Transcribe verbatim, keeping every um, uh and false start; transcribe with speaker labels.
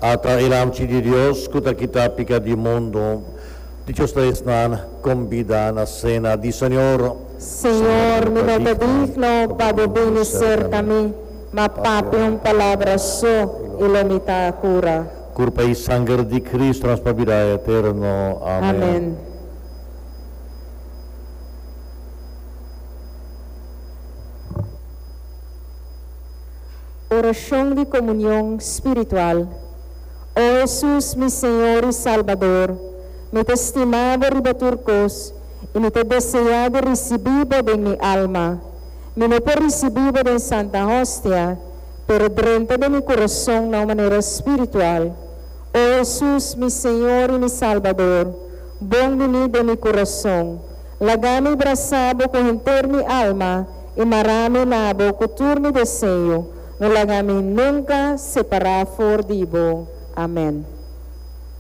Speaker 1: Ata e Lamchi di Dios, ku ta kita piká di mundu. Dichoso ta esnan kombidá na sena di Señor.
Speaker 2: Señor, mi no ta digno pa bo bini serka mi, ma papia un palabra so i lo mi ta kurá.
Speaker 1: Kurpa i sanger di Kristu ta nos pa bida eterno. Amèn.
Speaker 2: Amèn. Orashon di komunion spiritual. O Hesus, mi Señor i Salbador, mi ta stima bo riba tur kos i mi ta deseá di risibí bo den mi alma. Mi no por risibí bo den Santa Hostia, pero drenta den mi kurason na un manera spiritual. O Hesus, mi Señor i mi Salbador, bon biní den mi kurason. Laga mi brasa bo ku henter mi alma i mara mi na bo ku tur mi deseo. No laga mi nunka separá for di bo. Amèn.